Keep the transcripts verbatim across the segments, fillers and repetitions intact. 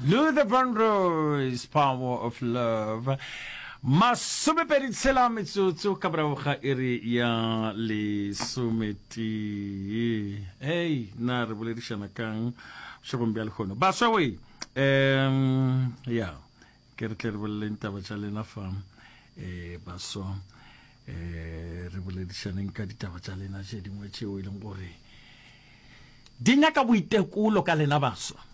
Luther Vandross, Power of Love. Masomepedi tshela metsotso ka morago ga iri ya lesometee. Hei, na re boledišana kang bošegong bja lehono? Baswa we, um ya, ke re tle re boleleng taba tša lena fa, eh, baswa, eh, re boledišaneng ka ditaba tša lena tše dingwe tšeo e leng gore di nyaka boitekolo ka lena baswa.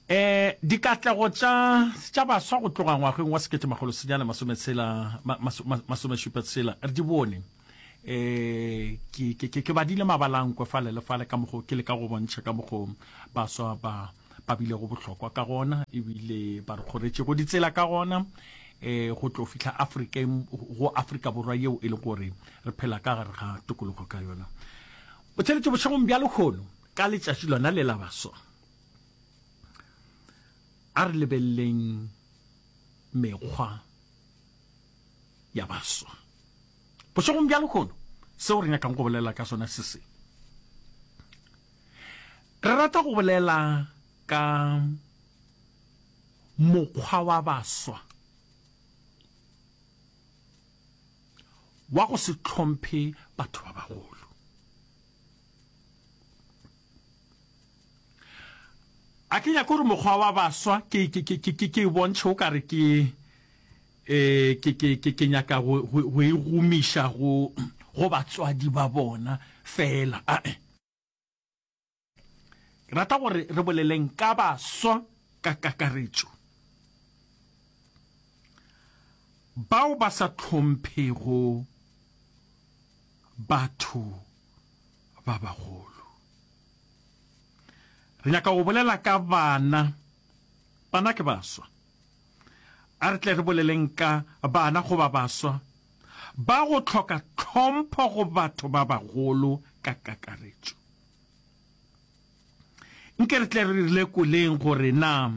Eh, dikatlego tša tša baswa go tloga ngwageng wa sekete makgolo senyane masometshela masomešupa tshela re di bone. Eh, ke ke ke badile mabalankwe fale le fale ka mokgo ke le ka go bontšha ka mokgo baswa ba ba bilego bohlokwa ka gona ebile ba re kgoretšego ditsela ka gona eh go tlo fihla Afrikeng go Afrika Borwa yeo e le gore re phela ka gare ga tokologo ka yona. O theletše bošegong bja lehono ka letšatši lona le la baswa. A re lebeleleng mekgwa ya baswa. Bošegong bja lehono seo re nyakang go bolela ka sona se se. Re rata go bolela ka mokgwa wa baswa wa go se hlomphe batho ba bagolo. A ke nyake gore mokgwa wa baswa ke ke ke ke ke bontšhe o kare ke eh ke ke ke ke nyaka go go e gomiša go go batswadi ba bona fela. Ae. Ke rata gore re boleleng ka baswa ka kakaretšo bao ba sa hlomphego batho ba bagolo. Re nyaka go bolela ka bana. Bana ke baswa. A re tle re boleleng ka bana goba baswa ba go hloka tlhompho go batho ba bagolo ka kakaretšo. Nke re tle re lekoleng gore na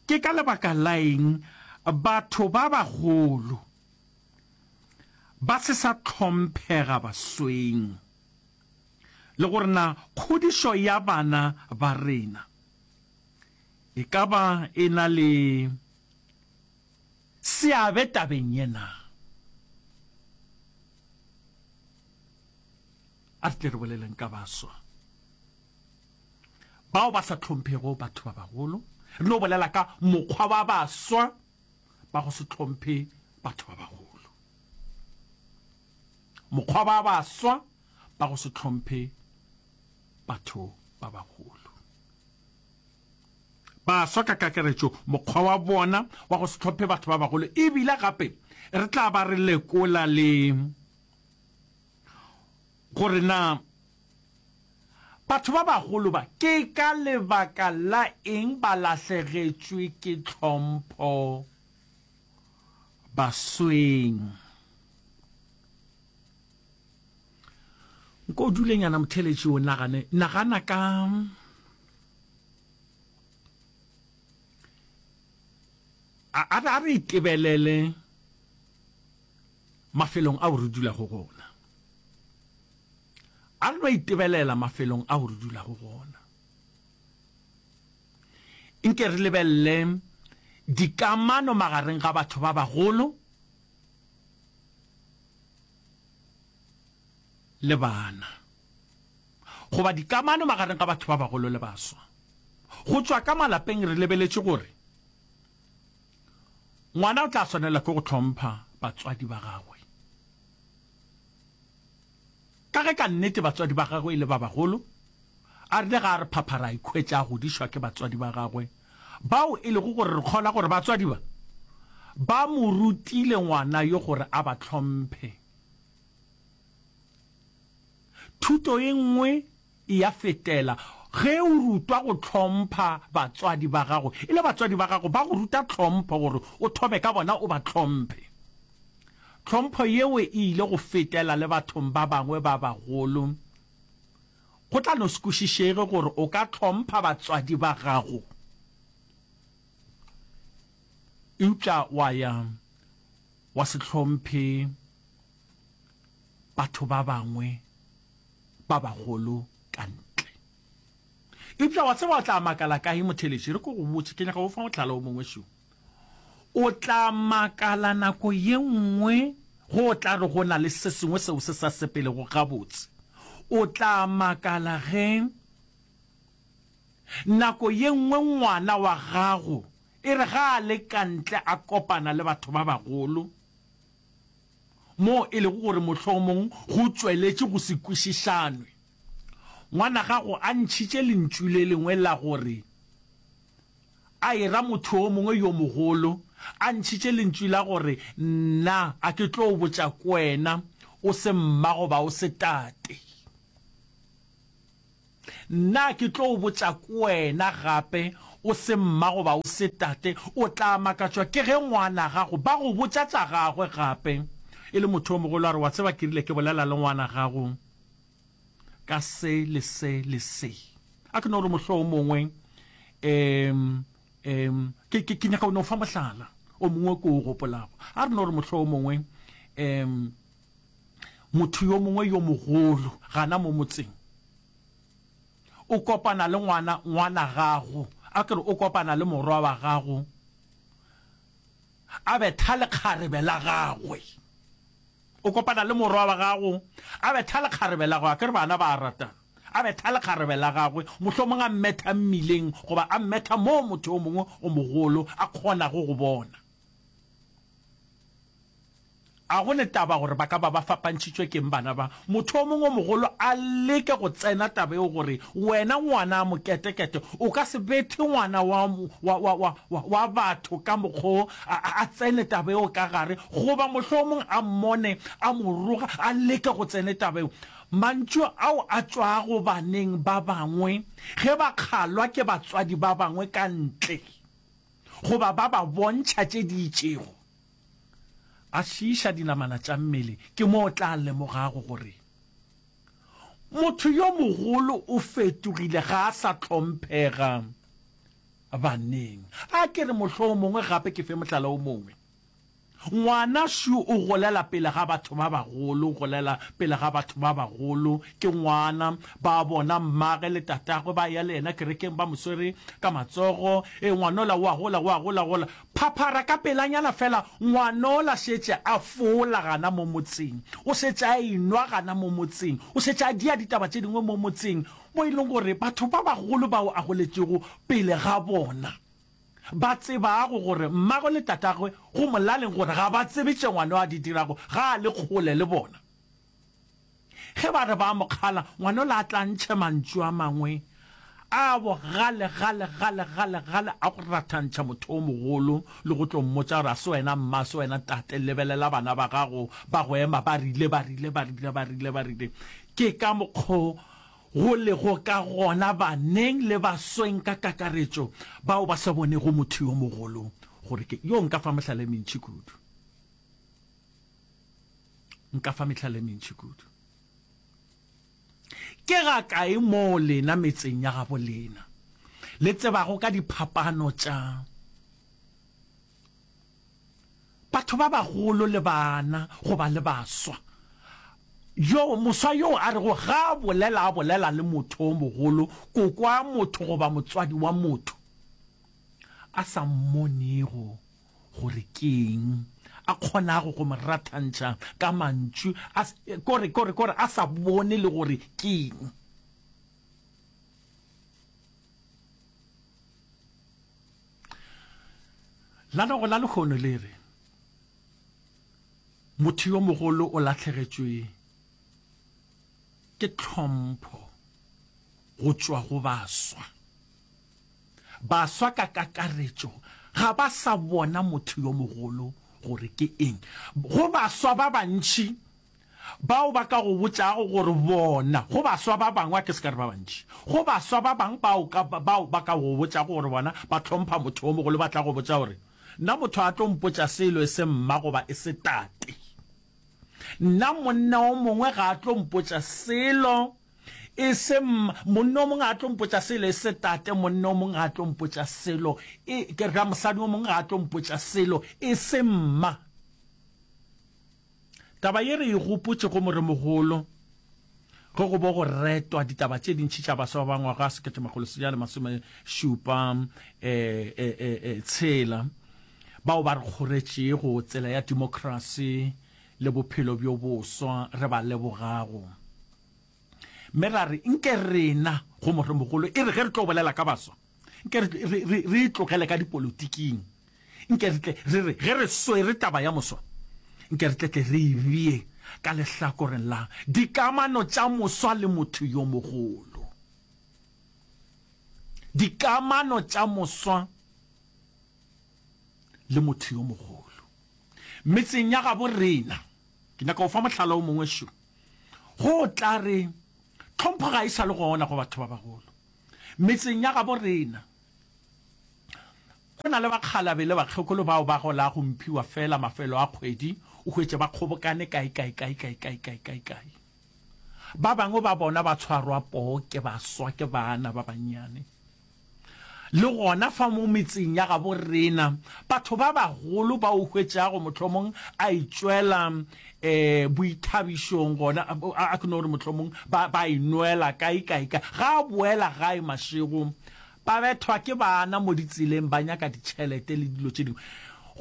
ke ka lebaka la eng batho ba bagolo ba se sa hlomphega basweng, le gore na kgodišo ya bana ba rena e ka ba e na le seabe tabeng ye na. A re tle re boleleng ka baswa bao ba sa hlomphego batho ba bagolo. Re no bolela ka mokgwa wa baswa ba go se hlomphe batho ba bagolo. Mokgwa wa baswa ba go se hlomphe batho ba bagolo. Baswa ka kakaretšo mokgwa wa bona wa go se hlomphe batho ba bagolo, ebile gape re tla ba re lekola le gore na batho ba bagolo ba ke ka lebaka la eng ba lahlegetšwe ke tlhompho basweng. Nko dulenyana motheletši o nagane, nagana ka a a re itebelele mafelong ao re dulago gona. A re no itebelela mafelong ao re dulago gona. Nke re lebelele dikamano magareng ga batho ba bagolo le bana, goba dikamano magareng ga batho ba bagolo le baswa. Go tšwa ka malapeng re lebeletše gore ngwana o tla swanela ke go hlompha batswadi ba gagwe, ka ge ka nnete batswadi ba gagwe e le ba bagolo. A rile ga a re phaphara a ikhwetša a godišwa ke batswadi ba gagwe, bao e lego gore re kgolwa gore batswadi ba ba mo rutile ngwana yo gore a ba hlomphe. Thuto e nngwe e ya fetela ge o rutwa go hlompha batswadi ba gago, e le batswadi ba gago ba go ruta tlhompho gore o thome ka bona o ba hlomphe. Tlhompho yeo e ile go fetela le bathong ba bangwe ba bagolo. Go tla no se kwešišege gore o ka hlompha batswadi ba gago eupša wa ya wa se hlomphe batho ba bangwe ba bagolo ka ntle. Eupša wa tseba o tla makala kae, motheeletši? Re ko go botše, ke nyaka go fa mohlala o mongwe šo. O tla makala nako ye nngwe ge o tla re go na le se sengwe seo se sa sepelego gabotse. O tla makala ge nako ye nngwe ngwana wa gago e re ge a le ka ntle a kopana le batho ba bagolo, moo e lego gore mohlomong go tšweletše go se kwešišanwe. Ngwana gago a ntšhitše lentšu le lengwe la gore a e ra motho yo mongwe yo mogolo, a ntšhitše lentšu la gore nna a ke tlo botša kwena o se mma goba o se tate. Nna ke tlo botša kwena gape o se mma goba o se tate. O tla makatšwa ke ge ngwana gago ba go botša tša gagwe gape e le motho yo mogolo a re wa tseba ke rile ke bolela le ngwana gago ka se le se le se. A ke no re mohlomongwe um um ke ke ke nyaka go no fa mohlala o mongwe ke o gopolago. A re no re mohlomongwe um motho yo mongwe yo mogolo gana mo motseng o kopana le ngwana ngwana gago, a ke re o kopana le morwa wa gago a betha lekgarebe la gagwe. O kopana le morwa wa gago a betha lekgarebe la gagwe, a ke re bana ba a ratana, a betha lekgarebe la gagwe, mohlomong a mmetha mmileng goba a mmetha moo motho yo mongwe o mogolo a kgonago go bona. A go ne taba gore ba ka ba ba fapantšhitšwe ke'ng bana ba? Motho o mongwe o mogolo a leke go tsena taba yeo gore wena ngwana a moketekete o ka se bethe ngwana wa, wa, wa, wa, wa, wa batho ka mokgo a, a, a tsene taba yeo ka gare, goba mohlomong a mmone a mo roga, a leke go tsene taba yeo. Mantšu ao a tšwago baneng ba bangwe ge ba kgalwa ke batswadi ba bangwe ka ntle goba ba ba bontšha tše di itšego, a šiiša dinamana tša mmele, ke mo o tla lemogago gore motho yo mogolo o fetogile, ga a sa hlomphega baneng. A ke re mohlomongwe gape ke fe mohlala o mongwe. Ngwana šo o golela pele ga batho ba bagolo, o golela pele ga batho ba bagolo, ke ngwana, ba bona mmage le tatagwe ba ya le yena kerekeng ba mo swere ka matsogo, e ngwanola o a gola, o a gola, gola. Phaphara ka pelanyana fela, ngwanola šetše a fola gana mo motseng, o šetše a enwa gana mo motseng, o šetše a dia ditaba tše dingwe mo motseng, mo e leng gore batho ba bagolo bao a goletšego pele ga bona ba tsebago gore mmagwe le tatagwe go molaleng gore ga ba tsebe tše ngwano a di dirago, ga a le kgole le bona. Ge ba re ba mo kgala, ngwanola a tla ntšhe mantšu a mangwe a bogale gale gale gale gale a go rathantšha motho o mogolo le go tlo mmotša gore a se wena mma, a se wena tate, lebelela bana ba gago ba go ema ba rile ba rile ba rile ba rile ba rile. Ke ka mokgo go lego ka gona baneng le basweng ka kakaretšo bao ba sa bonego motho yo mogolo gore ke yo. Nka fa mehlala e mentši kudu, nka fa mehlala e mentši kudu. Ke ga kae moo lena metseng ya gabo lena le tsebago ka diphapano tša batho ba bagolo le bana goba le baswa? Yo moswa yo a rego ga a bolela a bolela le motho o mogolo, koko a motho goba motswadi wa motho, a sa mmonego gore keng a kgonago go mo rathantšha ka mantšu, a kore kore kore a sa bone le gore keng. Lanogo la lehono le re motho yo mogolo o lahlegetšwe ke tlhompho go tšwa go baswa. Baswa ka kakaretšo ga ba sa bona motho yo mogolo gore ke eng. Go baswa ba bantši bao ba ka go botšago gore bona, go baswa ba bangwe, a ke se ka re ba bantši, go baswa ba bangwe bao ka, bao ba ka go botšago gore bona ba hlompha motho yo mogolo, ba tla go botša gore nna motho a tlo mpotša selo e se mma goba e se tate. Nna monna o mongwe ga a tlo mpotša selo e se monna o mongwe ga a tlo mpotša selo e se tate, monna o mongwe ga a tlo mpotša selo e ke ra mosadi o mongwe ga a tlo mpotša selo e se mma. Taba ye re e gopotše go moremogolo Ge go bo go retwa ditaba tše dintši tša baswa ba ngwaga sekete makgolo senyane masome šupa eh, eh, eh, eh, tshela bao ba re kgoretšego tsela ya demokrasi le bophelo bjo boswa re ba lebogago. Mme ra re nke rena go moremogolo e re ge re tlo bolela ka baswa nke re, re, re, re itlogele ka dipolotiking, nke re tle re re ge re swere taba ya moswa nke re tle tle re e bee ka lehlakoreng la dikamano tša moswa le motho yo mogolo. Dikamano tša moswa le motho yo mogolo metseng ya gabo rena. Ke nyaka go fa mohlala o mongwe šo. Go tla re tlhompho ga e sa le gona go batho ba bagolo metseng ya gabo rena. Go na le bakgalabe le bakgekolo bao ba gola go mphiwa fela mafelo a kgwedi, o hwetše ba kgobokane kae kae kae kae kae kae kae kae. Ba bangwe ba bona ba tshwarwa poo ke baswa ke bana ba bannyane. Le gona fa mo metseng ya gabo rena batho ba bagolo ba o hwetšago mohlomong a itšwela um boithabišong gona a ke no re mohlomong ba ba inwela kae kae kae, ga a boela gae mašego ba bethwa ke bana mo ditseleng ba nyaka ditšhelete le dilo tše dingwe.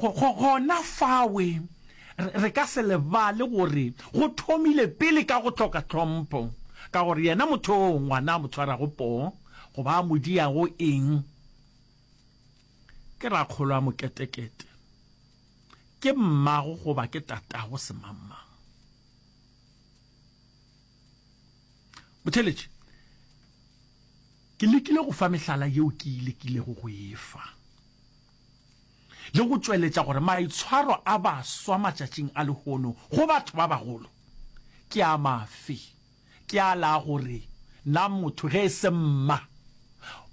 Gona fawe re ka se lebale gore go thomile pele ka go hloka tlhompho, ka gore yena motho oo ngwana a mo tshwarago poo goba a mo diago eng ke rakgolo a moketekete, ke mmago goba ke tatago semangmang. Motheeletši, ke lekile go fa mehlala yeo ke e lekilego go e fa le go tšweletša gore maitshwaro a baswa matšatšing a lehono go batho ba bagolo ke a mafe. Ke a la gore na motho ge e se mma,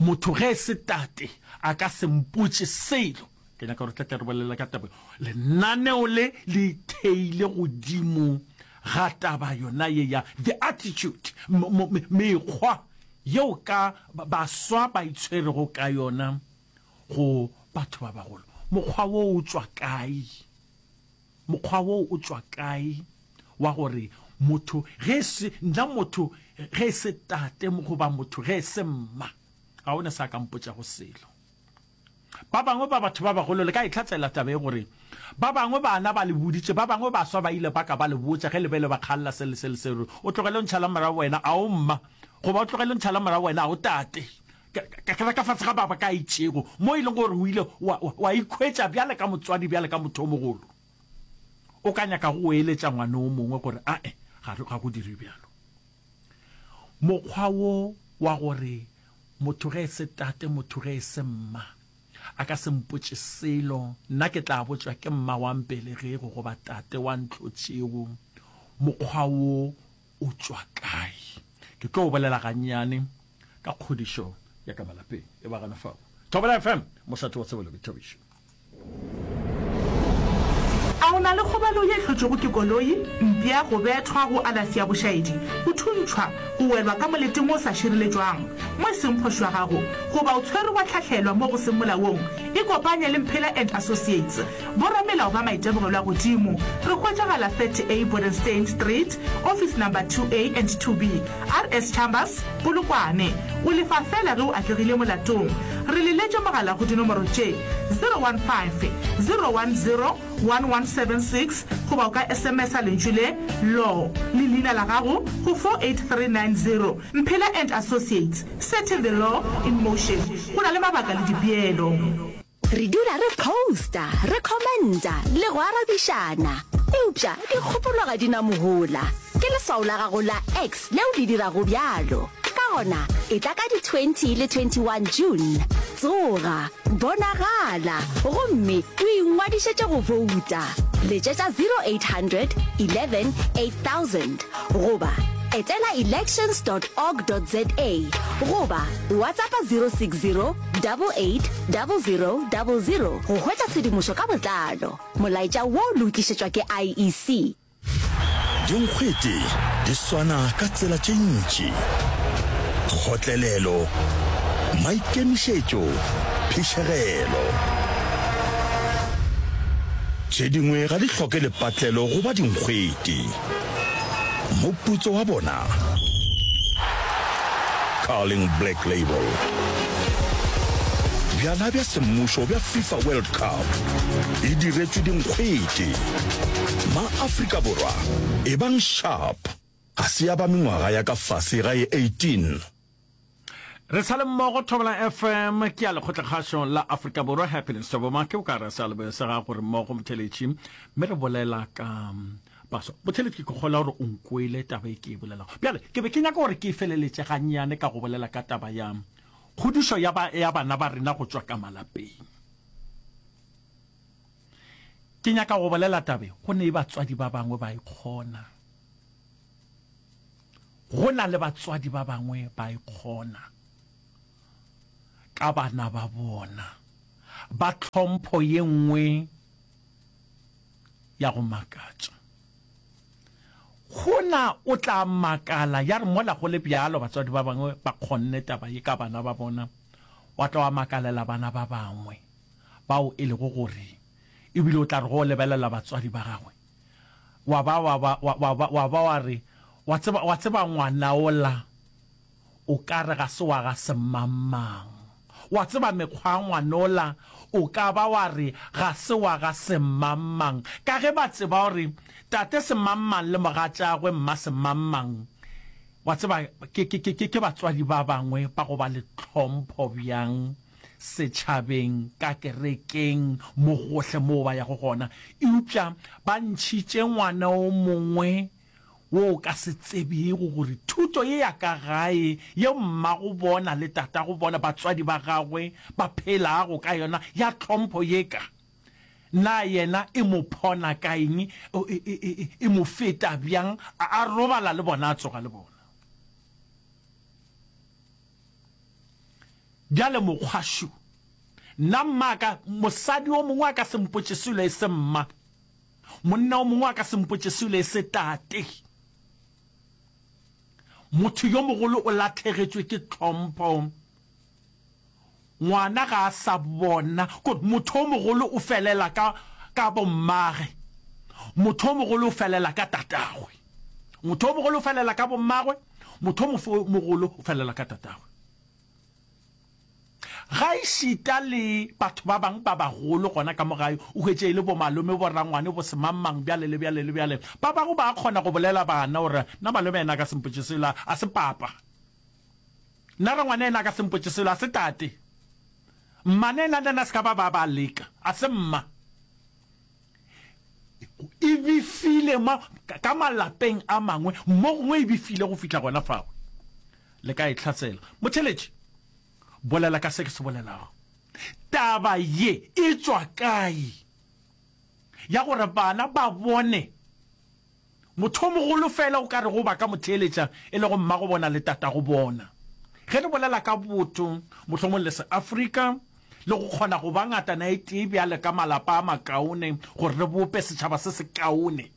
motho ge e se tate a ka se mpotše selo. Ke nyaka gore tle tle re bolele ka taba. Lenaneo le le itheile godimo ga taba yona ye ya the attitude, mekgwa yeo ka baswa ba itshwerego ka yona go batho ba bagolo. Mokgwa wo o tšwa kae? Mokgwa wo o tšwa kae wa gore motho ge se nna motho ge se tate goba motho ge se mma ga o ne sa ka mpotšago selo? Ba bangwe ba batho ba bagolo le ka itlhatsela taba e gore ba bangwe bana ba le boditše, ba bangwe baswa ba ile ba ka ba le botša ge le be le ba kgalla se le se le se, gore o tlogele o ntšhala morago wena a o mma, goba o tlogele o ntšhala morago wena a o tate. Ka ka ka fase ga mabaka a itšego mo e leng gore o ile wa, wa, wa ikhwetša bjale ka motswadi, bjale ka motho o mogolo, o ka nyaka go eletša ngwana o mongwe gore ae ga ga go dire bjalo. Mokgwa wo wa gore motho ge e se tate, motho ge e se mma a ka se mpotše selo, nna ke tla botšwa ke mma wa mpelegego goba tate wa ntlhotšego, mokgwa wo o tšwa kae? Ke tlo bolela gannyane ka kgodišo ya ka malapeng. E ba gana fao. Thobela F M, mošate wa tsebo le boithabišo. A o na le kgobalo ye e hlotšwego ke koloi, mpša, go bethwa, go alafi ya bošaedi, go thuntšhwa, go welwa ka moleteng wo o sa šireletšwang, mo e seng phošo ya gago, goba o tshwerwe wa hlahlelwa mo go seng molaong? Ikopanye le Mphela and Associates, boramelao ba maitemogelo a godimo. Re hwetšagala thirty A Bodenstein Street, Office Number two A and two B, R S Chambers, Polokwane. O lefa feela ge o atlegile molatong. Re leletše mogala go dinomoro tše, zero one five, zero one zero, one one seven six goba o ka S M S-a lentšu le, Law, le leina la gago go four eight three nine zero. Mphela and Associates, setting the law in motion. Go na le mabaka le dipeelo. Re dula re posta, re commenta le go arabišana, eupša dikgopolo ga di na mohola. Ke leswao la gago la X leo le dirago bjalo. Ka gona, etla ka di twenty le twenty one June. Tsoga, bonagala, gomme o ingwadišetše go bouta. Letšetša zero eight hundred eleven eight thousand goba etela elections dot org dot za goba WhatsAppa zero six zero double eight double zero double zero go hwetša tshedimošo ka botlalo. Molaetša wo le o tlišetšwa ke I E C. Dinkgwete di swana ka tsela tše ntši, kgotlelelo, maikemišetšo, phišegelo. Tše dingwe ga di hloke lepatlelo go ba dinkgwete. Moputso wa bona Carling Black Label. Bjala bja semmušo bja FIFA World Cup e diretšwe dinkgwete. Ma-Afrika Borwa, ebang sharp! Ga se ya ba mengwaga ya ka fase ga ye eighteen. Re sa le mmogo Thobela F M ke ya Lekgotlakgašo la Afrika Borwa. Happiness Toboma ke o ka re sealeboya sa gago re mmogo motheletši mme re bolela ka baswa. Motheletši ke kgolwa gore o nkwele taba e ke e bolelago. Bjale ke be ke nyaka gore ke e feleletše gannyane ka go bolela ka taba ya kgodišo ya, ba, ya bana ba rena go tšwa ka malapeng. Ke nyaka go bolela tabe go ne batswadi ba bangwe ba e kgona. Go na le batswadi ba bangwe ba e kgona ka bana ba bona, ba tlhompho ye nngwe ya go makatša. Go na o tla makala ya re mola go le bjalo batswadi ba bangwe ba kgonne taba ye ka bana ba bona, wa tla wa makalela bana ba bangwe bao e lego gore ebile o tla re go lebelela batswadi ba gagwe wa ba wa ba wa wa wa ba wa re wa tseba wa tseba ngwana ola o ka re ga se wa ga semangmang. Wa tseba mekgwa ya ngwanola o ka ba wa re ga se wa ga semangmang ka ge ba tseba gore tate semangmang le mogatšagwe mma semangmang wa tseba ke ke ke ke batswadi ba bangwe ba go ba le tlhompho bjang setšhabeng ka kerekeng mo gohle moo ba yago gona eupša ba ntšhitše ngwana o mongwe wo o ka se tsebego gore thuto ye ya ka gae ye mmago bona le tatago bona, batswadi ba gagwe, ba phelago ka yona ya tlhompho ye ka, na yena e mo phona ka eng, e, e, e, e mo feta bjang, a, a robala le bona, a tsoga le bona. Bjale mokgwa šo. Nna mma ka, mosadi o mongwe a ka se mpotše selo e se mma. Monna o mongwe a ka se mpotše selo e se tate. Motho yo mogolo o lahlegetšwe ke tlhompho. Ngwana ga a sa bona gore motho o mogolo o felela ka, ka bommage. Motho o mogolo o felela ka tatagwe. Motho o mogolo o felela ka bommagwe. Motho o mogolo o felela ka tatagwe. Gaešita le batho ba bangwe ba bagolo gona ka mo gae, o hwetše e le bomalome, borangwane, bosemangmang, bjale le bjale le bjale. Ba bangwe ba kgona go bolela bana gore, Nna malome yena a ka se mpotše selo, a se papa. Nna rangwane yena a ka se mpotše selo, a se tate. Mmane yena le yena a se ka ba ba ba leka, a se mma. E befile ma, ka malapeng a mangwe, mo gongwe e befile go fihla gona fao. Le ka e hlatsela. Motheeletši. Bolela ka se ke se bolelago. Taba ye e tšwa kae? Ya gore bana ba bone motho o mogolo feela o ka rego ba ka mo theeletša, e lego mmago bona le tatago bona. Ge re bolela ka botho, mohlomong le Seafrika, le go kgona go ba ngatana e tee bjale ka malapa a makaone gore re bope setšhaba se sekaone,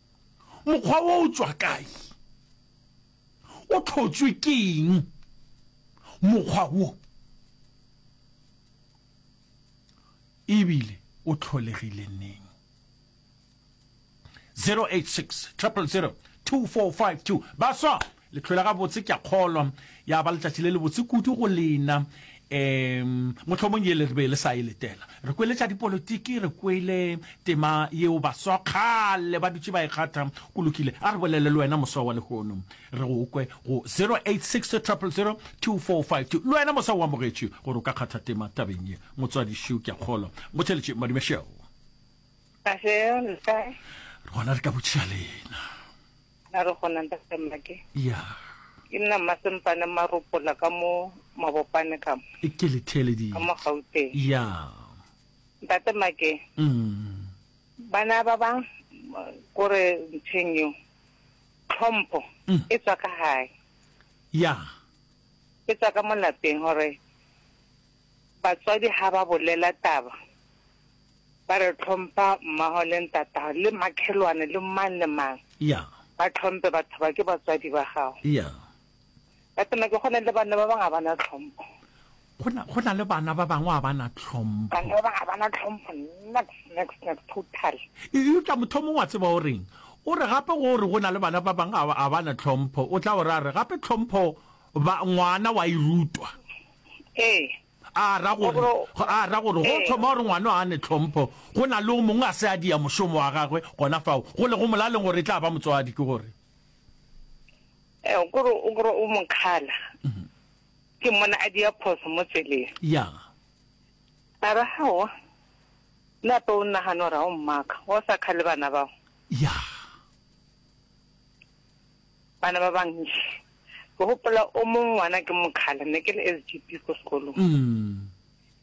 mokgwa wo o tšwa kae? O hlotšwe ke eng mokgwa wo? E bile o hlolegile neng? zero eight six triple zero two four five two Baswa, le hlwele gabotse, ke a kgolwa ya ba letšatši le lebotse kudu go lena. Um mohlomong ye le re be le sa e letela. Re kwele tša dipolotiki, re kwele tema yeo baswa kgale ba dutše ba e kgatha. Go lokile, a re bolele le wena moswa wa lehono, re go kwe go zero eight six triple zero two four five two. Le wena moswa o amogetšwe gore o ka kgatha tema tabeng ye. Motswadi šo, ke a kgolwa. Motheeletši Madumešeo. Kahle, le kae? Re gona, re ka botšiša lena. Na re gona ntate Mmake. Ya. Ke nna Mmasempane Maropola ka mo Mabopane ka mo. Ke le theeleditše. Ka mo Gauteng. Ya. Ntate Mmake. Mm. Bana ba ba kore ntheng yo tlhompho Mm. e tswa ka gae. Ya. E tswa ka mo lapeng gore batswadi ha ba bolela taba ba re tlhompha mmago le ntatago le makhelwane le mang le mang. Ya. Ba tlhompe batho ba ke batswadi ba gago. Ya. Ntate Mmake, go na le bana ba bangwe ga ba na tlhompho. Go na, go na le bana ba bangwe ga ba na tlhompho. Bana ba bangwe ga ba na tlhompho, nex, nex, nex, total. Eupša motho o mongwe wa tseba o reng? O re gape go re go na le bana ba bangwe ga ba na tlhompho, o tla o ra re gape tlhompho Ba, ngwana wa e rutwa. Ee. A ra gore, a ra gore go thoma gore ngwana a ne tlhompho, go na le o mongwe a se a dia mošomo wa gagwe gona fao, go lego molaleng gore e tla ba motswadi, ke gore. Ee, o kore, o kore o mo kgala. Ke mmona a dia phoso mo tseleng. Ya. A re, Aowa, le ape o nagane gore ga o mmaka, wa o sa kgale bana bao. Ya. Bana ba bantši. Ke gopola o mong ngwana ke mokgala, ne ke le S G P ko sekolong.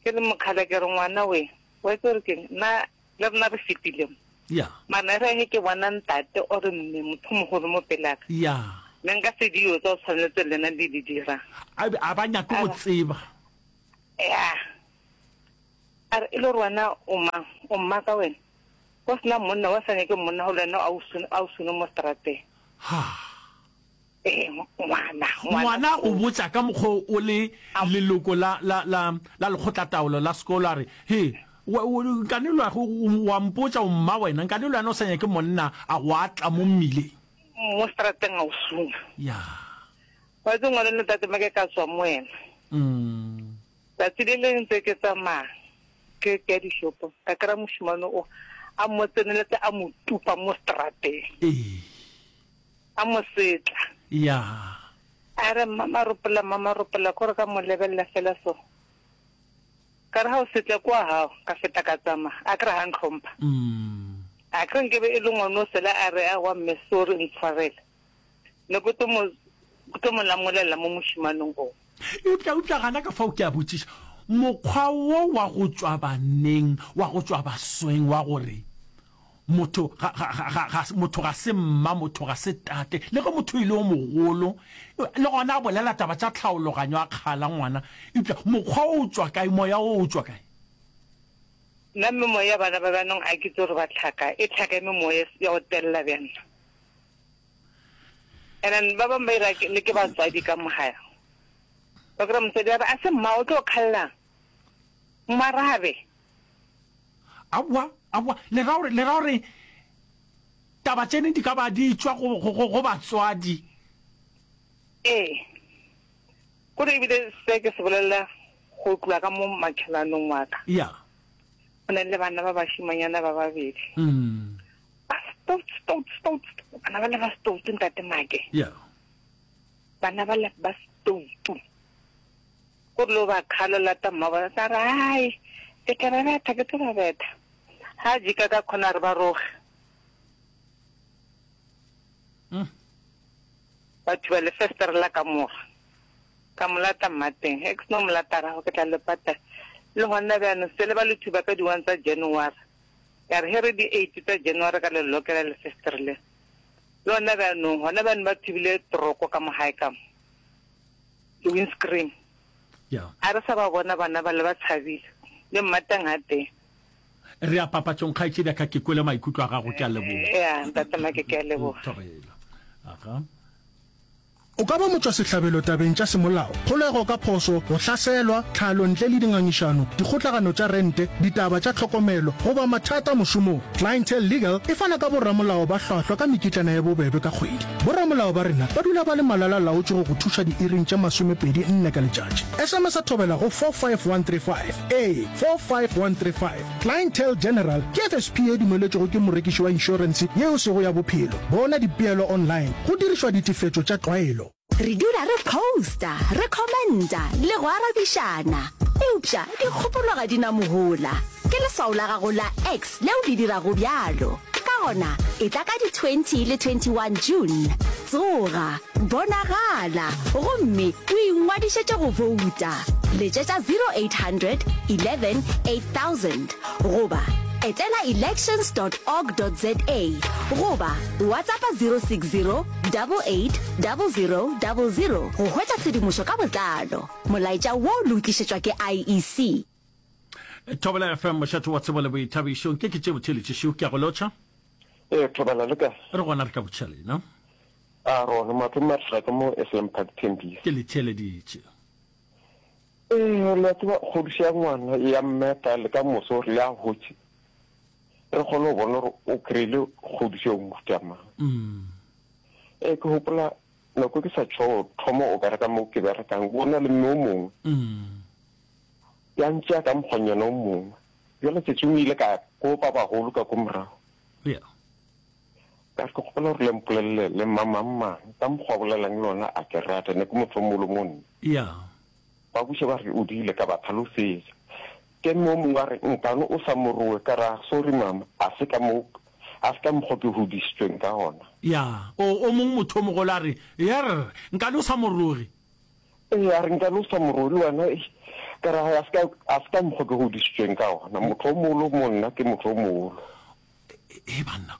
Ke le mokgala ke re ngwana we, wa itse gore keng, nna le rena re fetile mo. Ya. Mara re ge ke bona ntate or mme motho mogolo mo pele ka. Ya. Ne nka se dilo tsa o tshwanetse le nna di di dira. A a ba nyake go tseba. Ya. A re e le gore wena o mang, o mma ka wena. Go sena monna wa sa nyake monna go le wena a o sune, a o sune mo strateng. Ha. Ee, ngwana, ngwana go botša ka mokgwa o le leloko la la la la lekgotlataolo la sekolo a re, He, nkane le wa mpotša o mma wena, nkane le wena o sa nyake monna a go atla mo mmileng. Mo strateng a o suna. Ya. Wa itse ngwana le tate make ka tswa mo wena. Mm. Tsatsi le le ntse ke tsamaya ke ke dishopo ka kry-a mošemane o a mo tseneletse a mo tupa mo strateng. Ee. A mo setla. Ya. A re mama ropola, mama ropola, kore ka mo lebelela fela so. Ka re ha o setle kwa hao, ka feta ka tsamaya. A kry ha ntlhompha. Mm. A kry nkebe e le ngwana o sela a re a wa mme sorry ntshwarele. Ne ke tlo mo, ke tlo mo lamolela mo mošimanong o. Eupša, eupša gana ka fao ke a botšiša, mokgwa wo wa go tšwa baneng, wa go tšwa basweng, wa gore motho ga, ga, ga, ga, ga, motho ga se mma, motho ga se tate, le ge motho e le o mogolo, le gona a bolela taba tša tlhaologanyo a kgala ngwana, eupša mokgwa o tšwa kae, moya o o tšwa kae? Nna memoya ya bana ba bjanong a ke tse gore ba tlhaka, e tlhaka e memoya ya go telela bjana. And then ba bangwe ba ira le ke batswadi ka mogaya. Ba kry-a motswadi a re, a se mma o tlo kgallang, mmarabe. Aowa, aowa, le ra gore, le ra gore taba tšene di ka ba di tšwa go, go, go, go batswadi. Ee, kore ebile se ke se bolelela go tloa ka mo makhelanong wa ka. Ya. Go na le bana ba bašimanyana ba babedi. Mm. Ba stout, stout, stout, bana ba le ba stout, ntate Make. Ya. Bana ba le ba stout. Gore lo ba kgalo lata mma ba tla re, ai, ke tla ba betha, ke tlo ba betha. Ha jika ka khona re ba roge. Mm. Ba thuba le festere la kamora. Ka molata mmateng. He ke seno molata rago ke tla le pata. Le gona bjano se le ba le thuba ka di-one tsa January. Ya re he re di-eight tsa January ka le lokela le festere le. Le gona bjanong, gona bjanong ba thubile toroko ka mo gae ka mo. Di-windscreen. Ya. A re sa ba bona bana ba le ba tshabile. Le mmateng ha teng. Re a papatšong kgaetšedi ka ke kwele maikutlo a gago, ke a leboga. Ya, ntate Make ke a leboga. Thobela. Aga. O ka ba motšwasehlabelo tabeng tša semolao, kgolego ka phošo, go hlaselwa, tlhalo ntle le dingangišano, dikgotlagano tša rente, ditaba tša tlhokomelo, goba mathata mošomong. Clientele Legal e fana ka boramolao ba hlwahlwa ka mekitlana ye bobebe ka kgwedi. Boramolao ba rena ba dula ba le malala-laotšwe go go thuša diiring tše masomepedi nne ka letšatši. S M S a thobela go four five one three five. Ee, four five one three five. Clientele General ke F S P ye dumeletšwego ke morekiši wa inšorense ye e sego ya bophelo. Bona dipeelo online go dirišwa ditefetšo tša tlwaelo. Re dula re posta, re commenta le go arabišana, eupša dikgopolo ga di na mohola. Ke leswao la gago la X leo le dirago bjalo. Ka gona, etla ka di twenty le twenty-one June. Tsoga, bonagala, gomme o ingwadišetše go bouta. Letšetša zero eight hundred eleven eight thousand goba etela elections dot org dot za goba WhatsAppa zero six zero double eight double zero double zero go hwetša tshedimošo ka botlalo. Molaetša wo le o tlišetšwa ke I E C. Thobela F M, mošate wa tsebo le boithabišo. Nke ke tše botheletše ke a go lotšha. Ee, Thobela le kae? Re gona re ka botšha lena. A rona matlo matla ka mo S M Park Tembisa. Ke le theleditše. Ee, le a tseba kgodišo ya ngwana ya mmeta le ka moso re ya hotše. Re kgone go bona gore o kry-ile kgodišo ya mofuta mang. Mm. Ee, ke gopola nako ke sa tšho thoma o bereka mo ke berekang, go na le mme o mongwe. Ya ntšea ka mokgwanyana o mongwe. Bjale tšatšing o ile ka ko ba bagolo ka ko morago. Yeah. Ka re ke kgopela gore le mpolelele le mmamangmang ka mokgwa bolelang le ona a ke rata ne ke motho o mogolo mo nna. Yeah. Ba buša ba re o diile ka ba tlhalosetša. Ke mme o mongwe a re nkane o sa mo rowe ka re ah sorry mama a se ka mo a se ka mokgwa ke hodišitšweng ka gona. Yeah. O o mongwe motho o mogolo a re yerr nkane o sa mo roge. Ee, a re nkane o sa mo roge le wena eish. Ka re a se ka a se ka mokgwa ke hodišitšweng ka gona. Motho o mogolo mo nna ke motho o mogolo. Ee banna,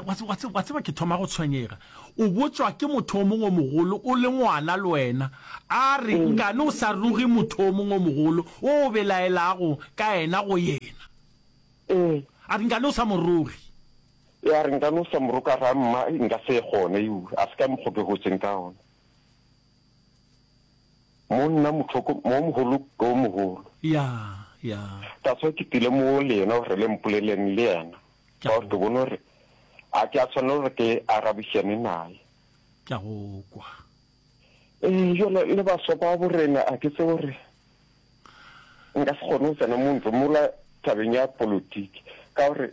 wa tseba ke thoma go tshwenyega. O botšwa ke motho o mongwe o mogolo o le ngwana le wena, a re nkane o sa roge motho o mongwe o mogolo o o belaelago ka yena go yena. Ee. A re nkane o sa mo roge. Ee, a re nkane o sa mo roge, ka re mma nka se kgone, ew, a se ka mokgwa ke hotseng ka gona. Mo nna mohloko, mo mogolo ke o mogolo. Ya, ya. That's why ke tlile mo le yena gore le mpoleleng le yena. Ke Ka a gore go. ke bone gore a ke a tshwanela gore ke arabišane naye. Ke a go kwa. Ee, jwale le baswa ba borena a ke tsebe gore nka se kgone go tsena mo ntlo mola tabeng ya politiki ka gore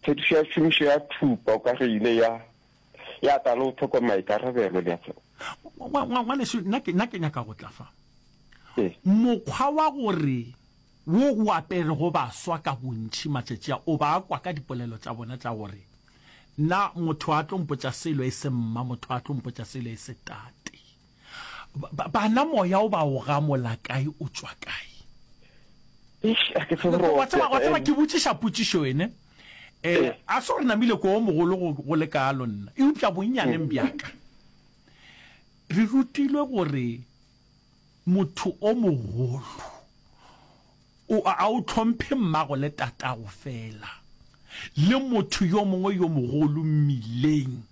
phedišo ya tšhomišo ya thupa o ka re ile ya ya tla le go tlhoka maikarabelo le a tseba. Ngwanešu, nna ke, nna ke nyaka go tla fa. Ee. Mokgwa wa gore wo o aperego baswa ka bontši matšatši a, o ba kwa ka dipolelo tša bona tša gore, Nna motho a tlo mpotša selo e se mma, motho a tlo mpotša selo e se tate. Ba, bana moya o ba o gamola kae, o tšwa kae? Eish, a ke tsebe gore Wa tseba, wa tseba ene. ke botšiša potšišo ene. Eh, Ee. a se gore namile ko o mogolo go, go le kalo nna, eupša bonnyaneng bja ka. Re rutilwe gore motho o mogolo o a o hlomphe mmago le tatago fela, le motho yo mongwe yo mogolo mmileng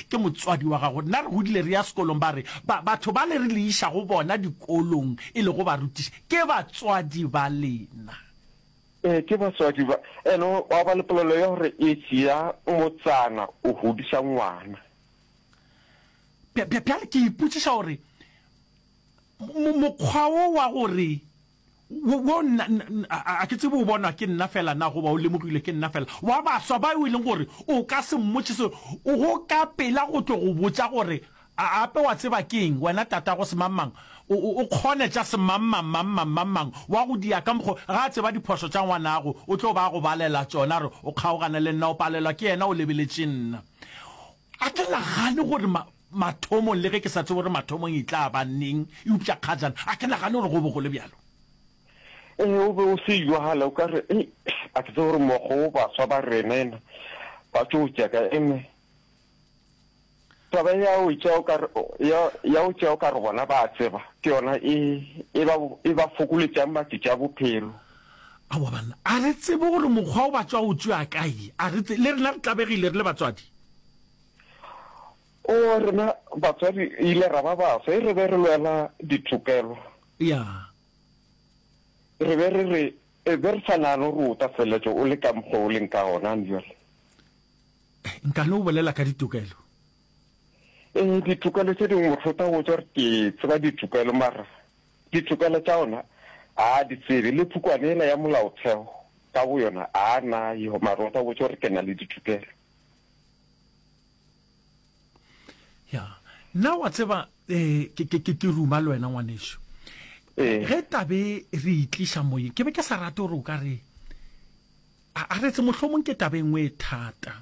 ke motswadi wa gago. Nna re godile re ya sekolong ba re ba, batho ba le re le iša go bona dikolong e lego barutiši ke batswadi ba lena. Ee, ke batswadi ba. Ene wa ba le polelo ya gore e tšea motsana o godiša ngwana. Bjale ke ipotšiša gore mokgwa wo wa gore wo nna a ke tsebe o bonwa ke nna fela na goba o lemogilwe ke nna fela, wa baswa ba e leng gore o ka se mmotše se go ka pela go tlo go botša gore ape wa tseba ke eng wena tatago semangmang o kgone tša semangmang mangmang mangmang wa go dia ka mokgo ga a tseba diphošo tša ngwanago o tlo ba go balela tšona re o kgaogane le nna o palelwa ke yena o lebeletše nna. A ke nagane gore ma, mathomong, le ge ke sa tsebe gore mathomong e tla ba neng, eupša kgajana, a ke nagane gore go be go le bjalo. Ee, o be o se jwale, o ka re, Ei, a ke tsebe gore mokgwa wo baswa ba rena ena ba tšo o tšea kae. Ene taba ya o tšea o ka re, ya, ya o tšea o ka re bona ba a tseba, ke yona e, e ba, e ba fokoletšang matšatši a bophelo. Aowa banna, a re tsebe gore mokgwa o ba tšwa o tšea kae, a re tse, le rena re tlabegile re le batswadi. O, rena batswadi ile ra ba baswa, e re be re lwela ditokelo. Ya. Re be re re, e be re sa nagane gore o tla feleletša o le ka mokgwa o leng ka gona bjale. Nka no bolela ka ditokelo. Ee, ditokelo tše dingwe motho o tla botša gore ke tseba ditokelo, mara ditokelo tša ona a a di tsebe. Le pukwana yela ya molaotheo ka boyona a a nayo, mara o tla botša gore ke na le ditokelo. Ya, nna wa tseba, eh, ke, ke, ke, ke ruma le wena ngwanešu. Ee. Ge tabe re itliša moyeng, ke be ke sa rate gore o ka re, a, a re tse mohlomong ke taba e nngwe e thata.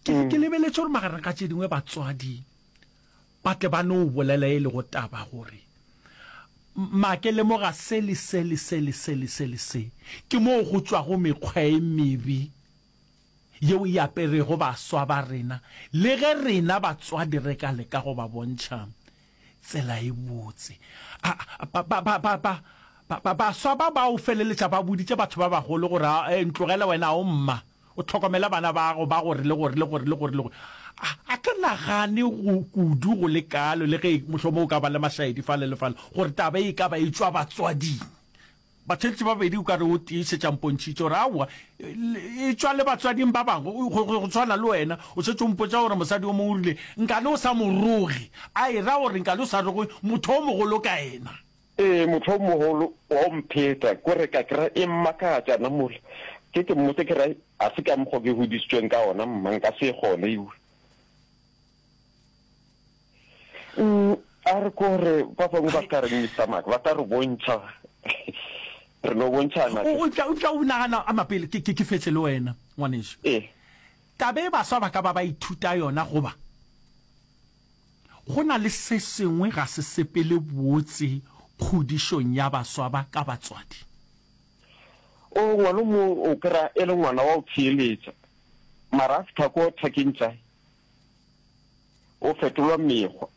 Ke, Mm. ke lebeletše gore magareng ga tše dingwe batswadi ba tle ba no bolela e lego taba gore ma ke lemoga se le se le se le se le se le se, ke moo go tšwago mekgwa e mebe yeo e aperego baswa ba rena, le ge rena batswadi re ka leka go ba bontšha tsela e botse. A, ba, ba, ba, ba, ba, ba, ba, baswa ba bao feleletša ba boditše batho ba bagolo gore, a, e, ntlogele wena, o mma, o hlokomele bana ba gago ba gore le gore le gore le gore le gore. A, a ke nagane go kudu go le kalo, le ge mohlomong o ka ba le mašaedi fale le fale, gore taba e ka ba e tšwa batswading. Batheeletši ba babedi o ka re o tee šetše a mpontšhitše gore aowa, e tšwa le batswading ba bangwe, go, go, go tshwana le wena, o šetše o mpotša gore mosadi yo mongwe o rile, Nkane o sa mo roge, a e ra gore nkane o sa roge motho o mogolo ka yena. Ee, motho o mogolo wa o mpheta, ko re ka kry-a e mmakatša nna mola ke ke mmotse ke re a se ka mokgwa ke hodisitšweng ka ona mma, nka se e kgone ewe. Mm, a re ko re ba bangwe ba tla reng Mister Mark, ba tla re bontšha, re no bontšhana. O, o tla, o tla o nagana a mapele, ke, ke, ke fetše le wena, ngwanešu. Ee. Taba e baswa ba ka ba ba ithuta yona goba go na le se sengwe ga se sepele botse kgodišong ya baswa ba ka batswadi. O, ngwana o mongwe o kry-a e le ngwana wa go theeletša, mara a fihla ko thakeng tša O fetolwa mekgwa.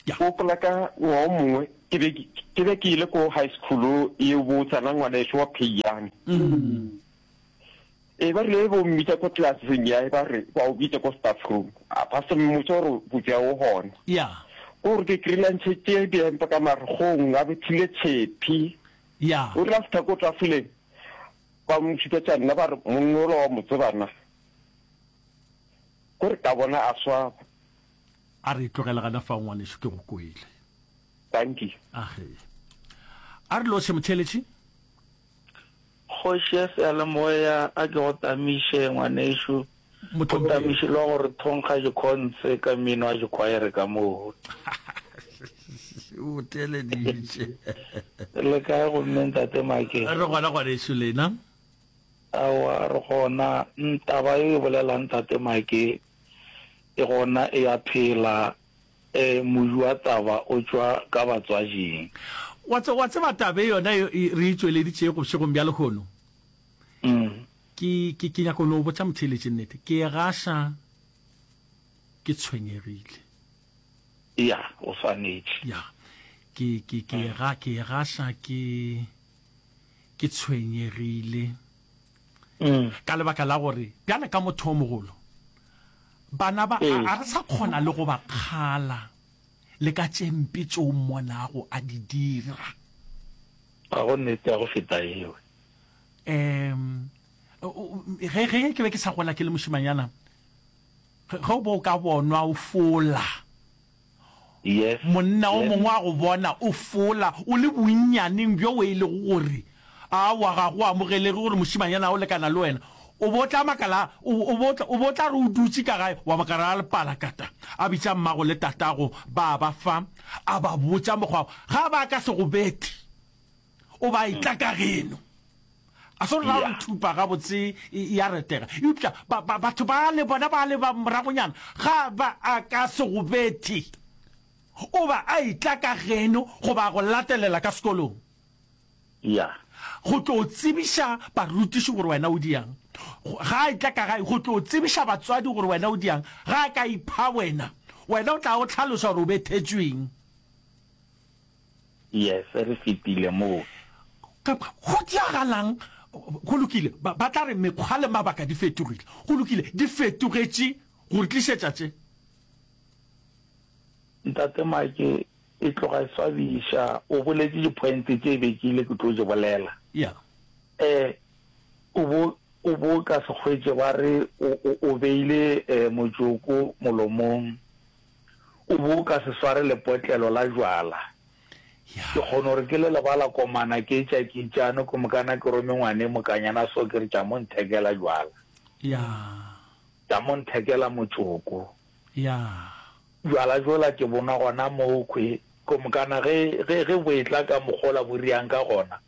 Ya. Ke gopola ka ngwaga o mongwe ke be ke be ke ile ko high school e botsana ngwaneso wa Pheyane. E ba rile bo mmitša ko classeng ya ba re ba o bitša ko staff room. A ba se mmotša gore botša o gona. Ya. Ko gore ke kry-ile a ntšhetše diempa ka maregong a bethile tshepi. Ya. O rile a fihla ko tafoleng ba mo šupetša nna ba re monna ola wa mo tseba na. Ko re ka bona a swaba. A re tlogele gana fao ngwanešu ke go kwele. Dankie. Age. A re lotšhe motheeletši. Kgoši ya seyalemoya a ke go tamiše ngwanešu. Go tamiše lwa gore thonkga dikhonse ka mmino wa dikhwaere ka moo. O theeleditše. Le kae gomme ntate Make? Re gona ngwanešu lena. Aowa, re gona. Taba ye o e bolelang, Tate Make, e gona e a phela. E, modu wa taba o tšwa ka batswading. Wa tse, wa tseba taba e yona e, e re e tšweleditšego bošegong bja lehono? Ke, ke, ke nyaka go no botša motheeletši nnete. Ke e gaša ke tshwenyegile. Ya, o swanetše. Ya. Ke, ke, ke e ga, ke e gaša ke. Ke tshwenyegile ka lebaka la gore bjale ka motho o mogolo, bana ba a re sa kgona le go ba kgala le ka tše mpe tše o mmonago a di dira. Ga go nnete ya go feta yeo. Um, ge, ge ke be ke sa gola ke le mošemanyana, ge, ge o be o ka bonwa o fola, Yes. Monna o Yes. mongwe a go bona o fola o le bonnyaneng bjo e lego gore aowa ga go amogelege gore mošemanyana o lekana le wena, o be o tla makala, o, o be o tla, o be o tla re o dutše ka gae wa makala a lepalakata a bitša mmago le tatago ba ba fa, a ba botša mokgwa, ga ba ka se go bethe o ba etla ka geno. A se gore ra gore thupa gabotse e a retega, eupša ba, ba, batho bale bona bale ba moragonyana ga ba a ka se go bethe, o ba a etla ka geno goba a go latelela ka sekolong. Ya. Go tlo tsebiša barutiši gore wena o diang. Ga a etla ka gae, go tlo tsebiša batswadi gore wena o diang. Ga a ka ipha wena, wena o tla o hlaloša gore o bethetšweng. Yes, re fetile moo. Ka, go diagalang? Go lokile, ba, ba tla re mekgwa le mabaka di fetogile. Go lokile, di fetogetše go re tlišetša tše. Ntate Make, e tloga e swabiša. O boletše di-point tše be ke ile ke tlo di bolela. Yeah. Eh, o bo, o bo ka se hwetše ba re o, o, o beile eh, motšoko molomong. O bo o ka se sware lepotlelo la jwala. Ke kgona gore ke le lebala komana ke etša ke itšano ke mokana ke rome ngwane mokanyana so ke re tša mo nthekela jwala. Tša mo nthekela motšoko. Jwala bjola ke bo nwa gona moo khwe ko mokana ge, ge, ge bo etla ka mokgola bo riang ka gona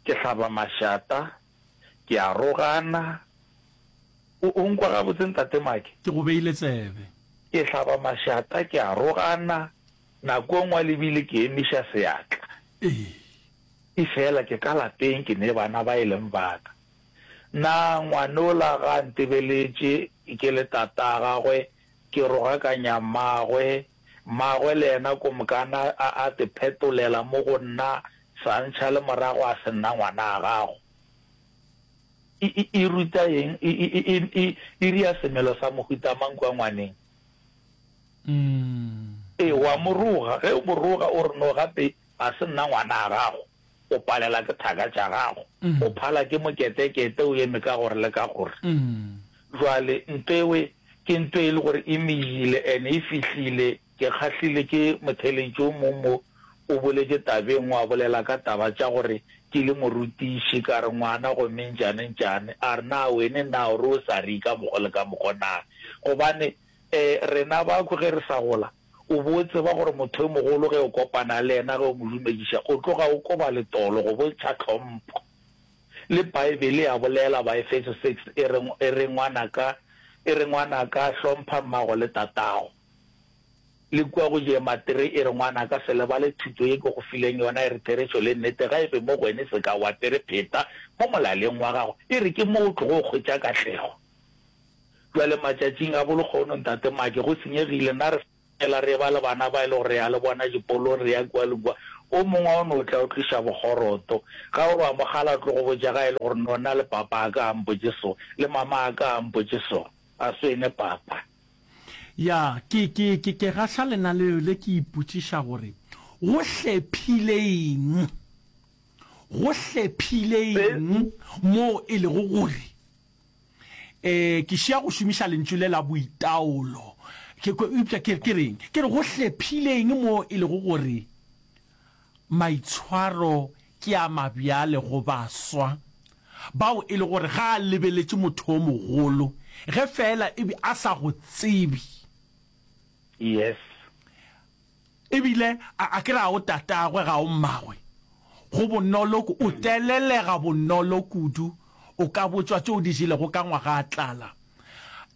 ke hlaba mašata, ke a rogana. O, o nkwa gabotse Ntate Make? Ke go beile tsebe. Ke hlaba mašata, ke a rogana, nako e nngwe le bile ke emiša seatla. Ee. Efela ke ka lapeng, ke ne bana ba e leng ba ka. Na ngwanola ga a ntebeletše ke le tata gagwe, ke rogakanya mmagwe, mmagwe le yena komokana a a te phetolela mo go nna, sa ntšha le morago a se nna ngwana a gago. E, e, e ruta eng? E, e, e, e, e ria semelo sa mohuta mang kua ngwaneng? Ee, wa mo roga. Ge o mo roga, o re, No, gape ga se nna ngwana a gago. O palela ke thaka tša gago. O phala ke moketekete o eme ka gore le ka gore. Jwale nto ewe ke nto e le gore e mejile and e fihlile. Ke kgahlile ke motheeletši o mong mo o boletše tabeng wa bolela ka taba tša gore ke le morutiši ka re ngwana gomme ntšane ntšane a re na wene na o re o sa re ka mokgo le ka mokgo na gobane um rena bakhwi ge re sa gola o bo o tseba gore motho yo mogolo ge o kopana le yena ge o mo dumediša o tloga o koba letolo go bontšha tlhompho le Bible ya bolela Baefeso six e re e re ngwanaka e re ngwanaka hlompha mmago le tatago. Le kua go Jematri e re, Ngwanaka, se lebale thuto ye ke go fileng yona, e re, Therešo le nnete ga e be mo go wene se ka o apere pheta mo molaleng wa gago, e re, ke mo o tlogo hwetša katlego. Bjale matšatšing a bolekgono, Ntate Make, go senyegile, na re fela re eba le bana ba e le gore re ya le bona dipolong, re ya kua le kua, o mongwe o no tla o tliša bokgoroto, ga o re wa mo kgala o tlo go botša ga e le gore no nna le papa a ka a mpotše so, le mama a ka a mpotše so, a swene papa. Ya, ke, ke, ke, ke gahla lenaneo le ke ipotšiša gore go hlephile eng, go hlephile eng moo e lego gore, eh, ke šia go šomiša lentšu le la boitaolo, ke, ke, eupša ke, ke reng, ke re go hlephile eng moo e lego gore maitshwaro ke a mabjale go baswa bao e le gore ga a lebeletše motho o mogolo ge feela e be a sa go tsebe. Yes. Ebile a, a ke re ga o tatagwe, ga o mmagwe. Go bonolo, o telelega bonolo kudu, o ka botšwa tše o di jelego ka ngwaga a tlala.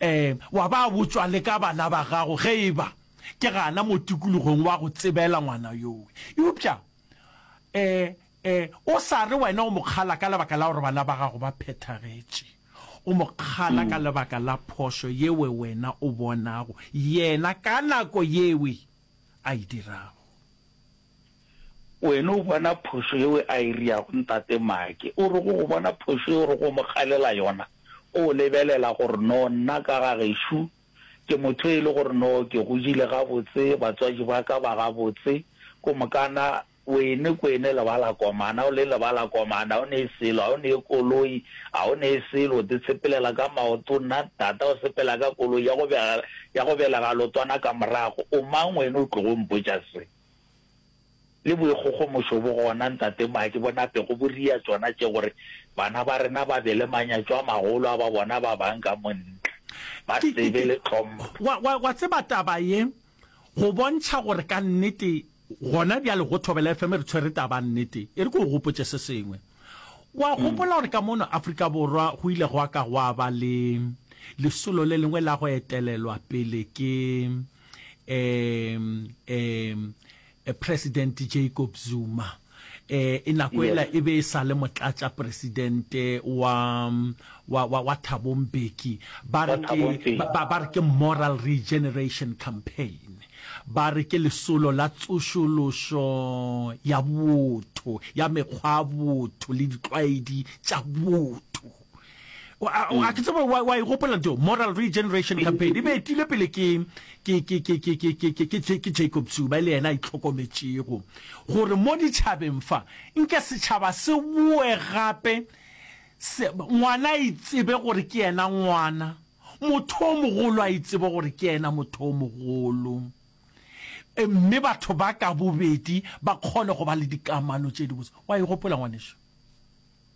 Um, wa ba botšwa le ka bana ba gago ge e ba ke gana mo tikologong wa go tsebela ngwana yowe. Eupša, um, E, o sa re wena o mo kgala ka lebaka la gore bana ba gago ba phethagetše. O mo kgala ka lebaka la phošo yewe wena o bonago yena ka nako yewe a e dirago. Wena o bona phošo yewe a e riago, Ntate Make. O re go go bona phošo ye o rego o mo kgalela yona, o lebelela gore no nna ka ga gešo ke motho e le gore no ke godile gabotse, batswadi ba ka ba gabotse, ko mokana Wene kwene lebala komana, o le lebala komana, o ne selo, a o ne koloi, a o ne selo, o te tshepelela ka maoto, nna tata o sepela ka koloi ya go bega, ya go belega lotwana ka morago, o mang wene o tlogo mpotša se? Le boikgogomošo bo gona, ntate Maki, bo napego bo ria tšona tše gore bana ba rena ba be le manyatšo a magolo a ba bona ba bang ka mo ntle, ba Ke, ke, se be ke, le tlhompho. wa, wa, wa tseba taba ye, go bontšha gore ka nnete Gona bjale go Thobela F M re tshwere taba nnete. E re ke o gopotše se sengwe. O a gopola gore ka mono Afrika Borwa go ile gwa ka gwa ba le lesolo le lengwe la go etelelwa pele ke um um President Jacob Zuma. E, e nako ela e be e sa le motlatšapresidente wa, wa, wa, wa Thabo Mbeki. Ba re ke, ba, ba re ke Moral Regeneration Campaign. Ba re ke lesolo la tsošološo ya botho, ya mekgwa ya botho le ditlwaedi tša botho. A ke tsebe wa, wa e gopola ntho, Moral Regeneration Campaign e be etile pele ke, ke, ke, ke, ke, ke, ke, ke, ke, ke Jacob Zuma, e le yena a itlhokometšego gore mo ditšhabeng fa nke setšhaba se boe gape, se, ngwana a itsebe gore ke yena ngwana. Motho o mogolo a itsebe gore ke yena motho o mogolo, mme batho ba ka bobedi ba kgone go ba le dikamano tše dibotse. Wa e gopola, ngwanešu?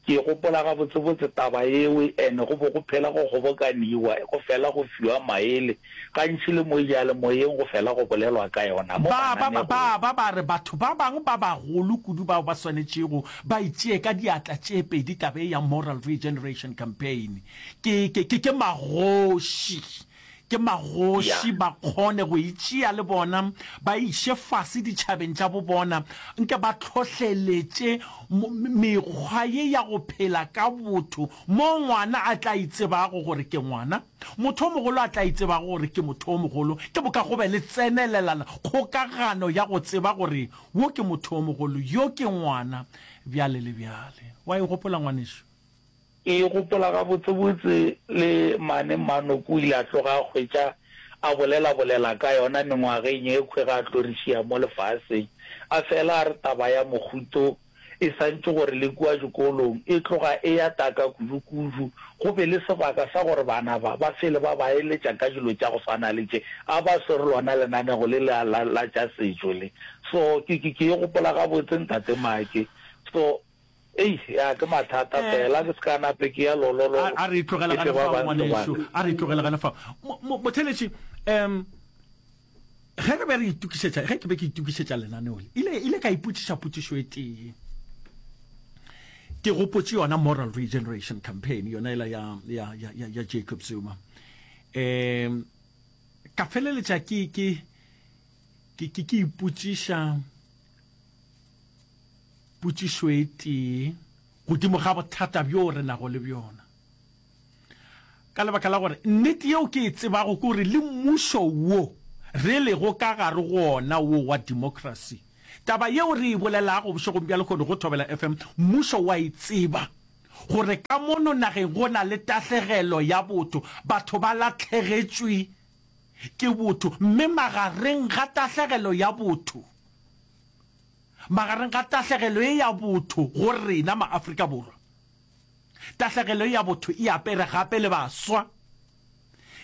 Ke gopola gabotsebotse taba yeo, and go be go phela go kgobokaniwa, go fela go fiwa maele, gantši le mo diyalemoyeng go fela go bolelwa ka yona mo Ba, ba, ba, mananegong. ba, ba ba re batho ba bangwe ba bagolo kudu bao ba swanetšego ba e tšee ka diatla tše pedi taba ye ya Moral Regeneration Campaign. Ke, ke, ke, ke magoši. Ke magoši, Ya. ba kgone go e tšea le bona, ba e iše fase ditšhabeng tša bobona, nke ba hlohleletše mo, mekgwa ye ya go phela ka botho, moo ngwana a tla itsebago gore ke ngwana, motho o mogolo a tla itsebago gore ke motho o mogolo, ke moka go be le tsenelelano, kgokagano ya go tseba gore wo ke motho o mogolo, yo ke ngwana, bjale le bjale. Wa e gopola, ngwanešu? Ke gopola gabotsebotse le mane Mmanoko o ile a tloga a hwetša a bolelabolela ka yona mengwageng ye khwe ge a tlo re šia mo lefaseng. A fela a re taba ya mohuto e santše gore le kua dikolong e tloga e ya taka kudu-kudu, go be le sebaka sa gore bana ba ba fele ba ba eletša ka dilo tša go swana le tše. A ba swere lona lenanego le la, la, la tša setšo le. So, ke, ke, ke e gopola gabotse, Ntate Make. So, ei, ya, ke mathata fela, ke se ka nape ke ya lololo, A, a re e tlogele ke fe gana ba fao, bang ngwanešu. sebaka. A re e tlogele gana fao. Mo, mo, motheeletši, um, Ge re be re itokišetša, ge ke be ke itokišetša lenaneo le, ile, ile ka ipotšiša potšišo e tee. Ke gopotše yona Moral Regeneration Campaign, yona ela ya, ya, ya, ya, ya Jacob Zuma. Um, ka feleletša ke, ke, ke, ke, ke ipotšiša potšišo e tee godimo ga bothata bjo re nago le bjona. Ka lebaka la gore nnete yeo ke e tsebago ke gore le mmušo wo re lego ka gare go ona wo wa democracy, taba yeo re e bolelago bošegong bja lehono go Thobela F M, mmušo wa e tseba gore ka mono nageng go na le tahlegelo ya botho, batho ba lahlegetšwe ke botho, mme magareng ga tahlegelo ya botho, magareng ga tahlegelo ye ya botho go rena ma-Afrika Borwa, Tahlegelo ya botho e apere gape le baswa.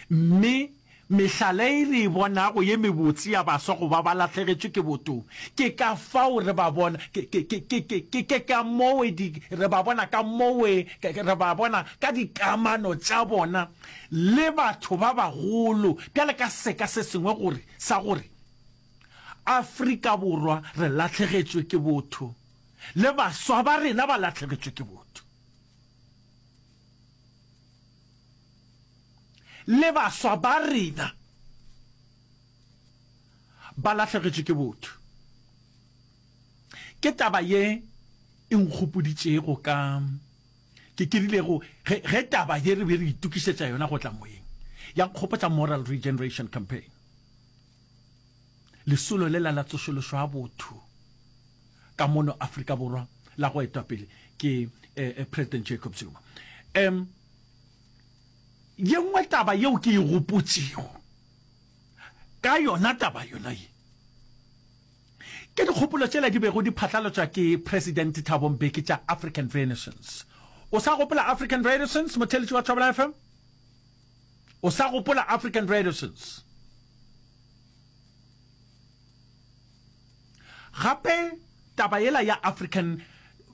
Mme mehlala e re e bonago ye mebotse ya baswa go ba ba lahlegetšwe ke botho, ke ka fao re ba bona, ke, ke, ke, ke, ke, ke, ke ka mowe di, re ba bona ka mowe, ke, re ba bona ka dikamano tša bona le batho ba bagolo. Bjale ka seka se sengwe gore, sa gore Afrika Borwa re lahlegetšwe ke botho, le baswa ba rena ba lahlegetšwe ke botho. Le baswa ba rena ba lahlegetšwe ke botho. Ke taba ye e nkgopoditšego ka, ke, ke rilego ge, ge taba ye re be re itokišetša yona go tla moyeng, ya nkgopotša Moral Regeneration Campaign, lesolo lela la tsošološo ya botho ka mono Afrika Borwa la go etwa pele ke eh, President Jacob Zuma. Um, ye nngwe taba yeo ke e gopotšego ka yona taba yona ye ke dikgopolo tšela di bego di phatlalatšwa ke President Thabo Mbeki tša African Renaissance. O sa gopola African Renaissance, motheeletši wa Thobela F M? O sa gopola African Renaissance? Gape taba yela ya African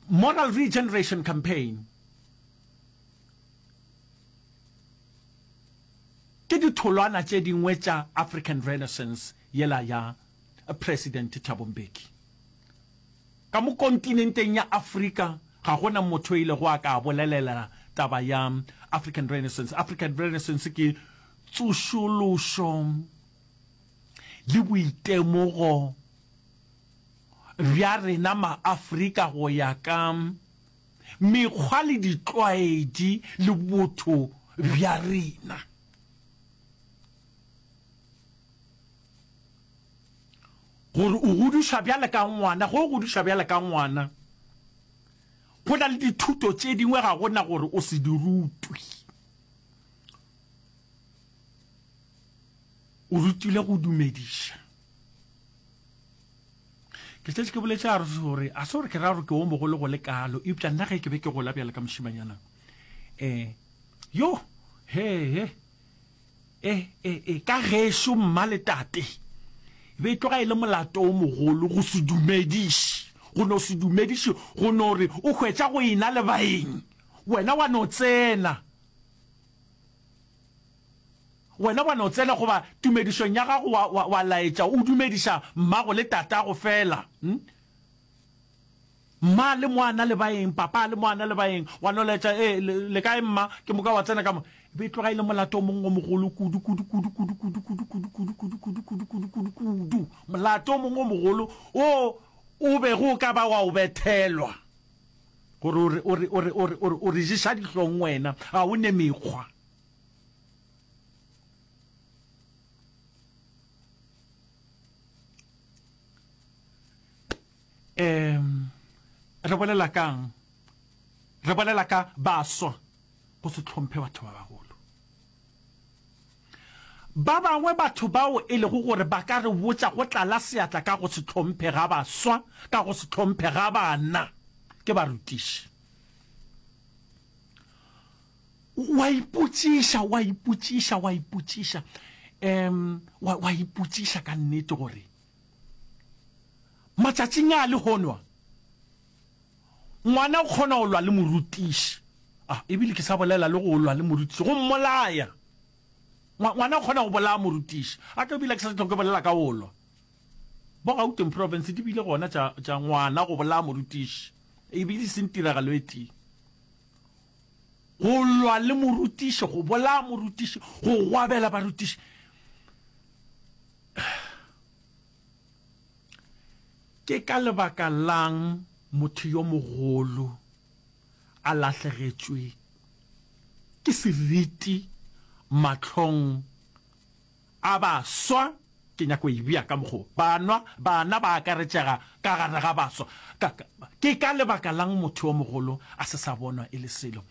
Moral Regeneration Campaign ke ditholwana tše dingwe tša African Renaissance yela ya President Thabo Mbeki. Ka mo kontinenteng ya Afrika ga go na motho yo ilego a ka bolelela taba ya African Renaissance. African Renaissance ke tsošološo le boitemogo bja rena ma-Afrika go ya ka mekgwa le ditlwaedi le botho bja rena. Gore o godišwa bjale ka ngwana, ge o godišwa bjale ka ngwana, go na le dithuto tše dingwe ga go na gore o se di rutwe. O rutilwe go dumediša. Ke šetše ke boletše a re gore a se gore ke ra gore ke o mogolo go le kalo, eupša nna ge ke be ke gola bjale ka mošemanyana, um yo he he e e e ka gešo mma le tate e be e tloga e le molato o mogolo go se dumediše, go no se dumediše, go no re o hwetša go ena le baeng wena wa no tsena. Wena wa no tsena goba tumedišong ya gago wa, wa, wa laetša o dumediša mmago le tatago feela. Hm? Mma le mo a na le baeng, papa le mo a na le baeng, wa no laetša, Ee, le, le kae mma? Ke moka wa tsena ka mo. E be e tloga e le molato o mongwe o mogolo kudu, kudu, kudu, kudu, kudu, kudu, kudu, kudu, kudu, kudu, kudu, kudu, kudu, kudu. Molato o mongwe o mogolo wo o bego o ka ba wa o bethelwa. Gore o re, o re, o re, o re, o re, o re ješa dihlong wena, ga o ne mekgwa. Um re bolela kang? Re bolela ka baswa go se hlomphe batho ba bagolo. Ba bangwe batho bao e lego gore ba ka re botša go tlala seatla ka go se hlomphe ga baswa, ka go se hlomphe ga bana, Ke barutiši. Wa ipotšiša, wa ipotšiša, wa ipotšiša, um, wa, wa ipotšiša ka nnete gore matšatšing a lehono a, ngwana o kgona go lwa le morutiši. Ah, ebile ke sa bolela le go lwa le morutiši, go mmolaya. Ngwana o kgona go bolaya morutiši. A ke ebile ke sa hlwe ke bolela ka go lwa. Bo Gauteng Province di bile gona tša, tša ngwana go bolaya morutiši. Ebile e seng tiragalo e tee. Go lwa le morutiši, go bolaya morutiši, go gwabela barutiši. Ke ka lebaka la'ng motho yo mogolo a lahlegetšwe ke seriti mahlong a baswa? Ke nyaka go e bea ka mokgwa wo, Banwa, bana ba akaretšega ka gare ga baswa. Ka, ka, ke ka lebaka la'ng motho yo mogolo a se sa bonwa e le selo?